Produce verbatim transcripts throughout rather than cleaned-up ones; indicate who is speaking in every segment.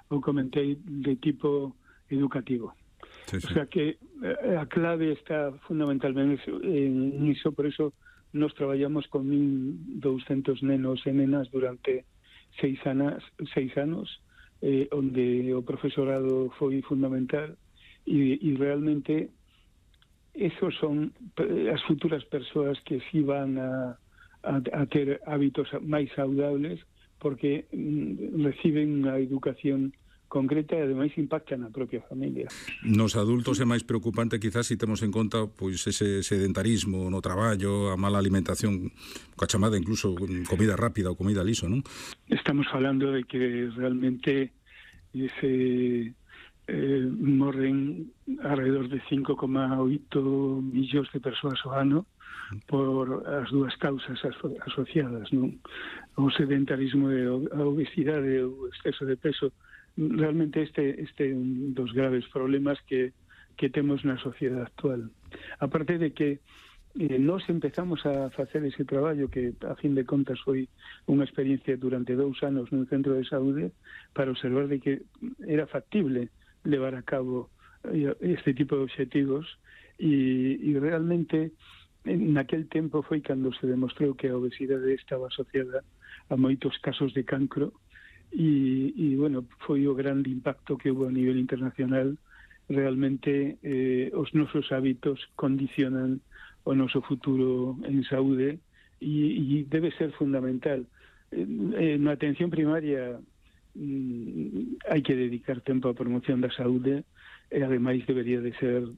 Speaker 1: o comentei, de tipo educativo.
Speaker 2: Sí, sí.
Speaker 1: O sea que a clave está fundamentalmente en iso, por iso nos traballamos con mil douscentos nenos e nenas durante seis anos, seis anos eh, onde o profesorado foi fundamental e, e realmente esos son as futuras persoas que si van a, a, a ter hábitos máis saudables porque mm, reciben unha educación concreta e ademais impacta na propia familia.
Speaker 2: Nos adultos é máis preocupante quizás se temos en conta pois ese sedentarismo no traballo, a mala alimentación, coa chamada incluso comida rápida ou comida liso, non?
Speaker 1: Estamos falando de que realmente ese eh, morren alrededor de cinco coma oito millóns de persoas ao ano por as dúas causas aso- asociadas, non? O sedentarismo e a obesidade e o exceso de peso. Realmente este este é un dos graves problemas que, que temos na sociedade actual. Aparte de que eh, nós empezamos a facer ese traballo que, a fin de contas, foi unha experiencia durante dous anos nun centro de saúde para observar de que era factible levar a cabo este tipo de obxectivos e, e realmente en aquel tempo foi cando se demostrou que a obesidade estaba asociada a moitos casos de cancro. E, e bueno, foi o grande impacto que hubo a nivel internacional. Realmente eh, os nosos hábitos condicionan o noso futuro en saúde e, e debe ser fundamental. Eh, na atención primaria mm, hai que dedicar tempo á promoción da saúde e ademais debería de ser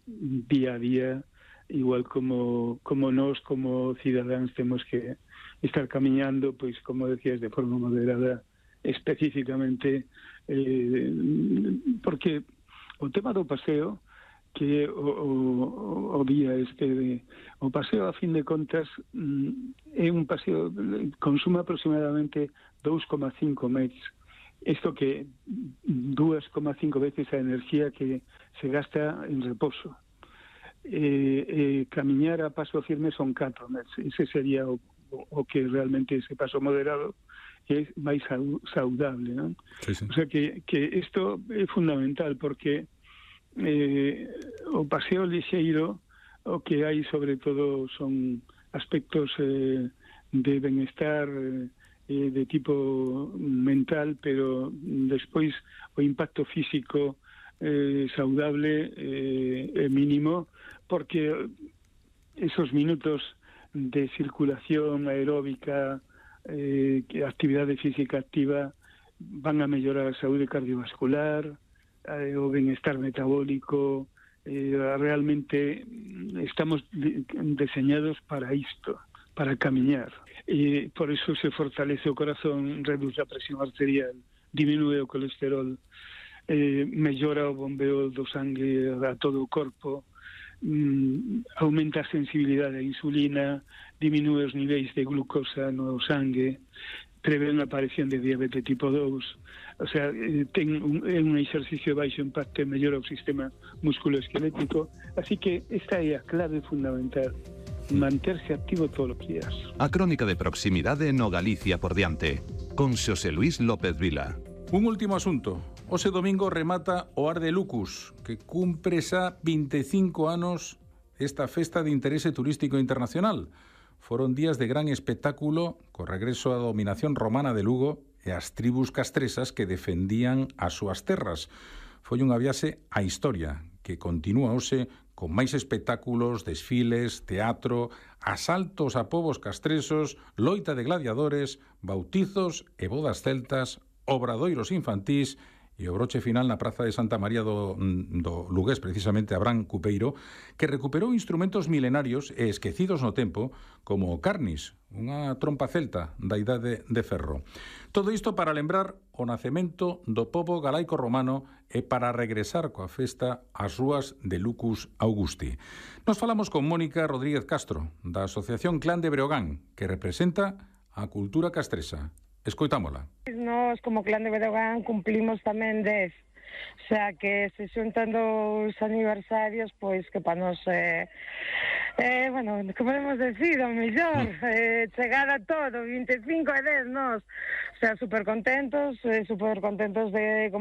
Speaker 1: día a día, igual como, como nós como cidadáns temos que estar camiñando, pois como decías, de forma moderada, especificamente eh, porque o tema do paseo que o, o, o día este de, o paseo a fin de contas é un paseo consume aproximadamente dous coma cinco metros, isto que dous coma cinco veces a enerxía que se gasta en reposo. eh, eh, camiñar a paso firme son catro metros, ese sería o, o que realmente ese paso moderado que é máis saudable, non?
Speaker 2: Sí, sí.
Speaker 1: O sea que, que isto é fundamental porque eh, o paseo lixeiro o que hai sobre todo son aspectos eh, de benestar eh, de tipo mental, pero despois o impacto físico eh, saudable eh, é mínimo porque esos minutos de circulación aeróbica, eh, que actividade física activa van a mellorar a saúde cardiovascular, eh, o benestar metabólico. Eh, realmente estamos de, deseñados para isto, para camiñar. E por eso se fortalece o corazón, reduce a presión arterial, diminúe o colesterol, eh, mellora o bombeo do sangue a todo o corpo, mm, aumenta a sensibilidade á insulina, diminúe os niveis de glucosa no sangue, prevén a aparición de diabetes tipo dous. O sea, ten un, un exercicio de baixo impacto e mellora o sistema musculoesquelético. Así que esta é a clave fundamental, manterse activo todos os días.
Speaker 3: A crónica de proximidade no Galicia por diante, con Xosé Luis López Vila.
Speaker 2: Un último asunto. Ose domingo remata o Ar de Lucus, que cumpre xa vinte e cinco anos esta festa de interese turístico internacional. Foron días de gran espectáculo co regreso á dominación romana de Lugo e as tribus castresas que defendían as súas terras. Foi unha viaxe á historia que continúa hoxe con máis espectáculos, desfiles, teatro, asaltos a povos castresos, loita de gladiadores, bautizos e bodas celtas, obradoiros infantís e o broche final na Praza de Santa María do, do Lugués, precisamente Abraham Cupeiro, que recuperou instrumentos milenarios e esquecidos no tempo, como o carnis, unha trompa celta da idade de ferro. Todo isto para lembrar o nacemento do pobo galaico romano e para regresar coa festa ás rúas de Lucus Augusti. Nos falamos con Mónica Rodríguez Castro, da Asociación Clan de Breogán, que representa a cultura castresa. Escoitámola.
Speaker 4: Nós, como Clan de Breogán, cumplimos tamén dez. O sea, que se xuntan dos aniversarios, pois que para nós é... Eh, bueno, como podemos decir, o mellor, eh, chegar a todo, vinte e cinco e dez nós. O sea, super contentos, eh, super contentos de como